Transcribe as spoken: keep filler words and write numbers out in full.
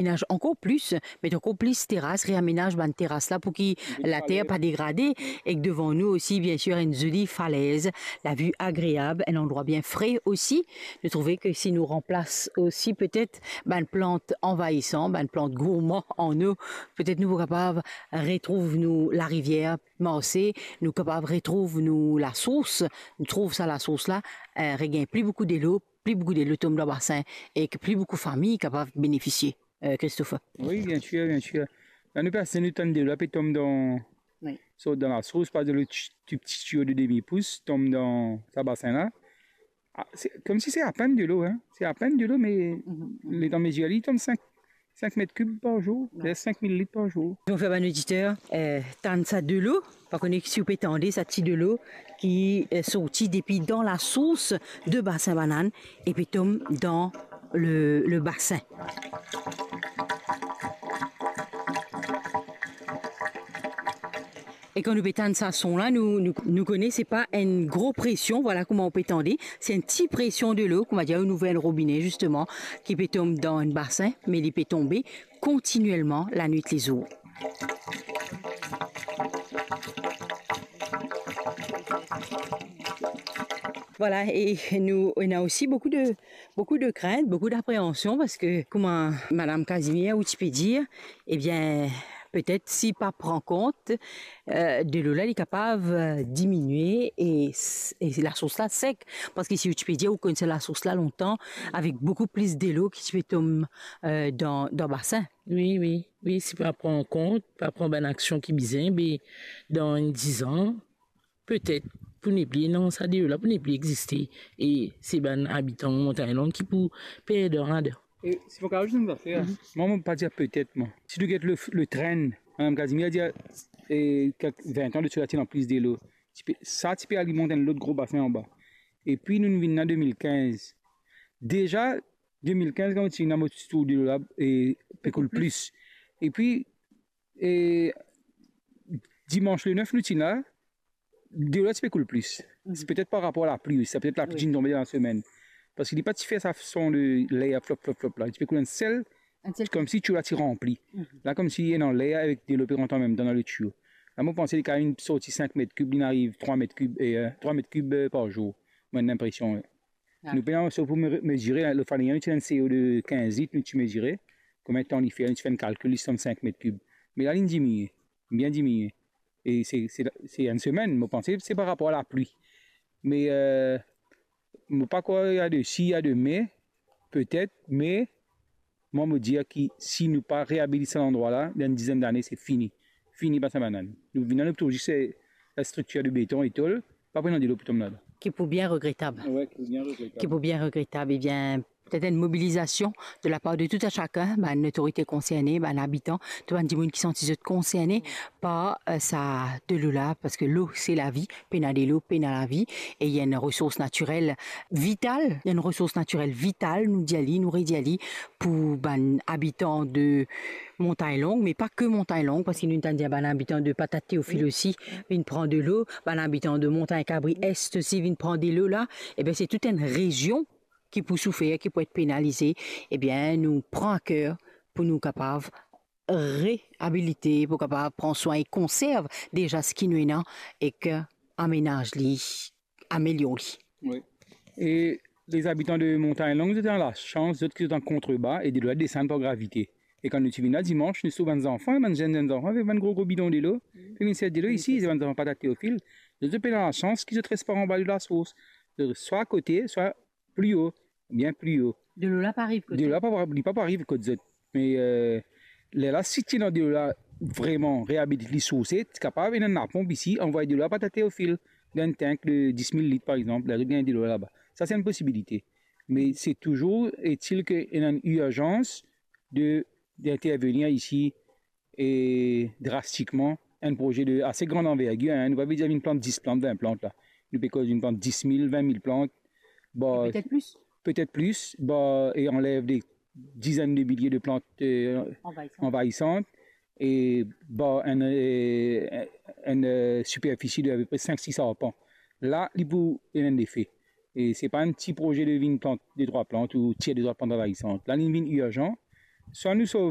Amenaz ankor plis, met ankor plis teras, reamenaz bann teras la pou ki later pa degrade. Ek devan nou osi, bien sir, enn zoli falez, lavi agreab, enn landrwa bien fre osi. Nou trouve ke si nou ranplas osi petet bann plant anvayisan, bann plant gourman an nou, petet nou pou kapav retrouv nou larivier marse, nou kapav retrouv nou lasours, nou trouv sa lasours la, eh, regagn pli boukou delo, pli boukou delo tom dan basin ek pli boukou fami kapav benefisie, eh, Christopher. Wi, bien sir, bien sir. La nou pe asize, nou tann delo la pe tom dan, wi, sort dan lasours, par exanp, le ti, ti, ti tiyo de demi pous tom dan sa basin la. Ah, se, koumsi se apenn delo, hein. Se apenn delo, me, mhm, letan mezir li, li tom sink, sink met kib par zour, wi, ver sink mil lit par zour. Nou fer bann oditer, eh, tann sa delo, pa kone si ou pe tande sa ti delo ki, eh, sorti depi dan lasours de Basin Banann e pe tom dan le, le basin. E kan nou pe tann sa son la, nou, nou, nou kone se pa enn gro presion, vwala kouma ou pe tande, se enn ti presion delo, kouma dir, nou ouver enn robine, zisteman, ki pe tom dan enn basin, me li pe tonbe kontinielman lanwit lezour. Vwala, e nou, ena osi boukou de, boukou de krint, boukou dapreansion, parski kouma Madam Casimir ou ti pe dir, ebien, petet si pa pran kont, eh, delo la, li kapav, eh, diminie e s-, e lasours la sek. Parski si ou ti pe dir, ou konn sa lasours la lontan, avek boukou plis delo ki ti pe tom, eh, dan, dan basin. Wi, wi, wi, si pa pran kont, pa pran bann aksion ki bizin, be dan enn dizan, petet pou nepli ena sa delo la, pou nepli existe. E se bann abitan Montagne Longue ki pou perd rad. E si mo kapav azout enn zafer, mhm, mwa, mo pa dir petet, mwa. Si nou get le, le tren, Madam Casimir dir, e, kek vin an de sela ti ena plis delo. Ti pe, sa ti pe alimant enn lot gro basin anba. Epi nou, nou vinn la de mil kinz. Deza, de mil kinz, kan nou ti vinn la, mo ti trouv delo la, e, pe koul plis. Epi, e, dimans le nef nou ti la, delo la ti pe koul plis. Mhm. Se petet par rapor a lapli osi, sa petet lapli, wi, ti tonbe dan lasemenn. Parski li pa ti fer sa son de ler flop, flop, flop la. Li ti pe koul enn sel, enn sel, koumsi tiyo la ti ranpli. Mhm. La, koumsi ena ler avek delo pe rant anmemtan dan le tiyo. La, mo panse li kapav sorti sink met kib, li ariv trwa met kib, e, eh, trwa met kib, eh, par zour. Mo ena linpresion, wi. Ah. Nou pena so pou me-, mezire, le fane, nou ti ena enn seyo de kinz lit, nou ti mezire. Konbien tan li fer, nou ti fer enn kalkil, li sanm sink met kib. Me la, li diminie, bien diminie. E se, se, se enn semenn, mo panse se par rapor a lapli. Me, eh, mo pa krwar ena de si, ena de me, petet, me mwa, mo dir ki si nou pa reabilit sa landrwa la, dan enn dizenn dane, se fini. Fini Basin Banann. Nou vinn la, nou trouv zis, eh, la striktir de beton e tol, pa pou ena delo pou tom ladan. Ki pou bien regretab. Wi, ki pou bien regretab. Ki pou bien regretab. Ebien, petet enn mobilizasion de lapar de tou a sakenn, bann lotorite konserne, bann abitan, tou bann dimoun ki santi zot konserne par, eh, sa delo la, parski lo se lavi, pena delo, pena lavi, e li enn resours natirel vital, enn resours natirel vital, nou dir li, nou redir li, pou bann abitan de Montagne Longue, me pa ke Montagne Longue, parski nou tann dir bann abitan de Patate Théophile osi vinn pran delo, bann abitan de Montagne Cabri Est osi vinn pran delo la, ebien, se tou enn rezion ki pou soufer, ki pou et penalize. Ebien, nou pran a ker pou nou kapav reabilite, pou kapav pran swin e konserv deza seki nou ena ek amenaz li, amelior li. Wi. E lezabitan de Montagne Longue, zot ena lasans, zot ki zot an kontreba e delo la desann par gravite. E kan nou ti vinn la dimans, nou trouv bann zanfan, bann zenn, zenn zanfan avek bann gro, gro bidon delo, pe vinn sers delo isi, se bann zanfan Patate Théophile. Zot, zot pena lasans ki zot res par anba de lasours. Zot swa akote, swa pli o, bien pli o. Delo la pa ariv kot zot. Delo la pa, li pa pou ariv kot zot. Me, eh, lerla, si ti ena delo la vreman reabilit li, sourse, ti kapav ena enn laponp isi, anvway delo la Patate Théophile, dan enn tank de dis mil lit, par exanp, la zot gagn delo la laba. Sa, se enn posibilite. Me se touzour, etil ke ena enn irzans de, d'intervenir isi, e drastikman, enn proze de ase gran anvergir, hein. Nou pa pe dir vinn plant dis plant, vin plant la. Nou pe koz vinn plant dis mil, vin mil plant. Bon, petet plis. Petet plis, bon, e anlev de dizenn de milie de plant, eh, anvayisan, anvayisan, e bon, enn, eh, enn, eh, siperfisi de apepre sink sis arpan. La, li pou ena enn lefe. E se pa enn ti proze de vinn plant de trwa plant ou tir de trwa plant anvayisan. La, li vinn irzan. Swa nou sov